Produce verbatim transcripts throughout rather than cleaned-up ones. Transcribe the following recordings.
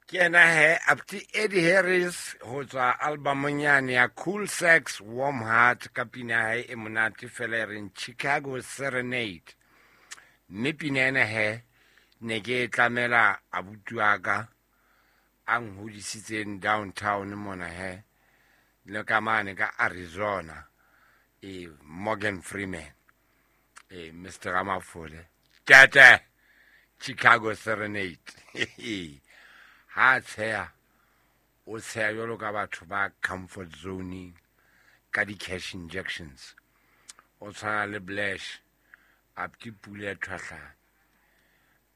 Ke yena he Apti Eddie Harris ho tswa albumong yane ya Cool Sex Warm Heart ka pina ya hae e monate fela e reng Chicago Serenade. Mme pina ena he ne ke e tlamela abuti wa ka a nhodisitseng downtown mona he le ka mane ka Arizona, e Morgan Freeman, e Mister Ramafole tata Chicago Serenade. Ha tsheya o tsheya jwalo ka batho ba comfort zoning ka di-cash injections. O tshwana le Blash, Apti Pule Thwahlane,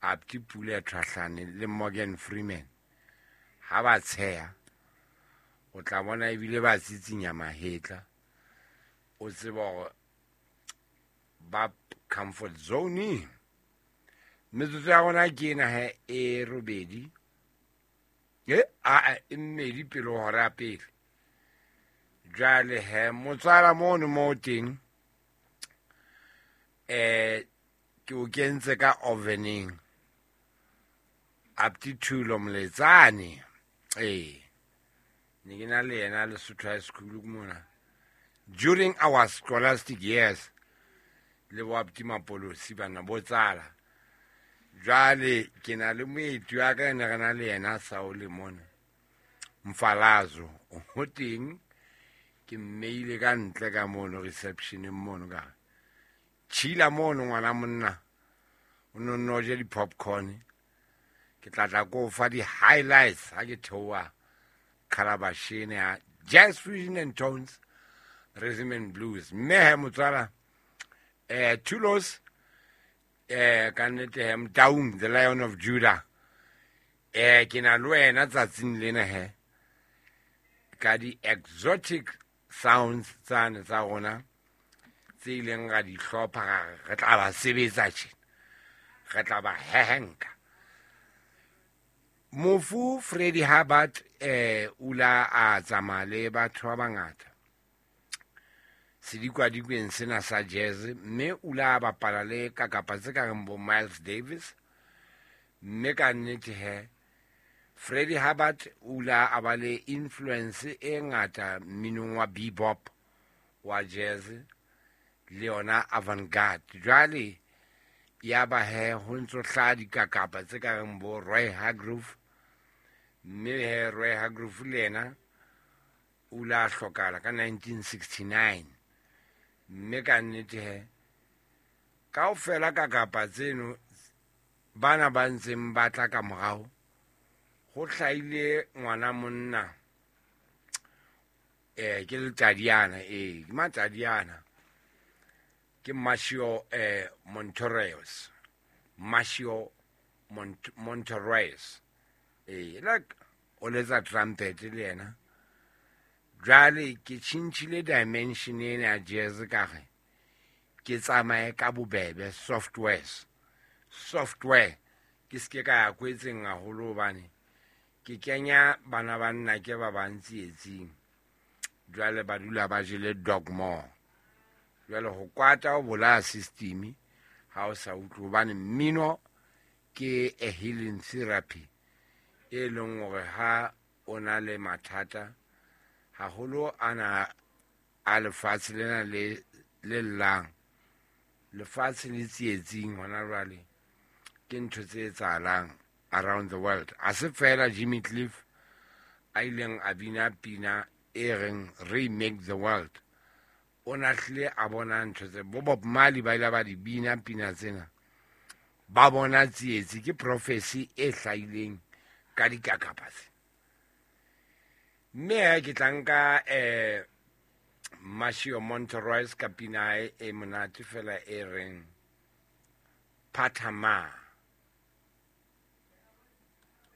Apti Pule Thwahlane le Morgan Freeman. Ha ba tsheya o tla bona ebile ba tsitsinya mahetla, o tseba hore ba comfort zoning. Metsotso ya rona ke ena he e robedi, e a e mmedi pele ho hora ya pele. Jwale he motswala mono mo teng, eh ke o kentse ka oveneng. Apti Thulo Moletsane, eh ne ke na le yena Lesotho High School mona during our scholastic years, le bo Apti Mapolosi bana bo tsala. Jwale ke na le moeti wa ka ne re na le yena Saole mona Mfalazo o teng, ke mmeile ka ntle ka mono receptioneng mono ka chila mono ngwana monna o no no je di-popcorn. Ke tla tla ko fa di-highlights ha ke theoha Calabashene ya Jazz Fusion and Tones Rhythm and Blues. Mme he motswala eh Thulos eh ka nnete he Mtaung, the Lion of Judah, eh ke na le wena tsatsing lena he ka di-exotic sounds tsane tsa rona tse ileng ra di hlopha, ra re re tla ba sebetsa tjena, re tla ba hehenka. Mofu Freddie Hubbard eh o la a tsamaya le batho ba bangata sedikwadikwen sena sa jazz, mme o la bapala le kakapa tse ka reng bo Miles Davis. Mme ka nnete he Freddie Hubbard o la a ba le influence e ngata mminong wa bebop wa jazz le yona avant-garde. Jwale ya ba he ho ntso hlaha dikakapa tse ka reng bo Roy Hargrove, mme he Roy Hargrove le yena o la hlokahala ka nineteen sixty-nine. Mme ka nnete he kaofela kakapa tseno bana ba ntseng ba tla ka morao, ho hlahile ngwana monna eh ke letadiana, eh ke matadiana, ke Marcio eh Montoreos, Marcio Mont-, Montoreos, eh like o letsa trumpet le yena. Jwale ke tjhentjhile dimension ena ya jazz ka re ke tsamaye ka bobebe softwares, software ke ske ka ya kwetseng haholo hobane ke kenya bana ba nna ke ba bang tsietsing. Jwale ba dula ba jele dogma. Jwale ho kwata ho bolaya system ha o sa utlwe, hobane mmino ke a healing therapy e leng hore ha o na le mathata haholo ana a lefatshe lena le le llang, lefatshe le tsietsing hona jwale, ke ntho tse etsahalang around the world. A se fela Jimmy Cliff a ileng a bina pina e reng Remake the World, o na hlile a bona ntho tse bo Bob Marley ba ile ba di bina pina tsena, ba bona tsietsi, ke prophecy e hlahileng ka dikakapa tse. Mme he ke tla nka eh Marcio Montoreos ka pina e monate fela e reng Patama.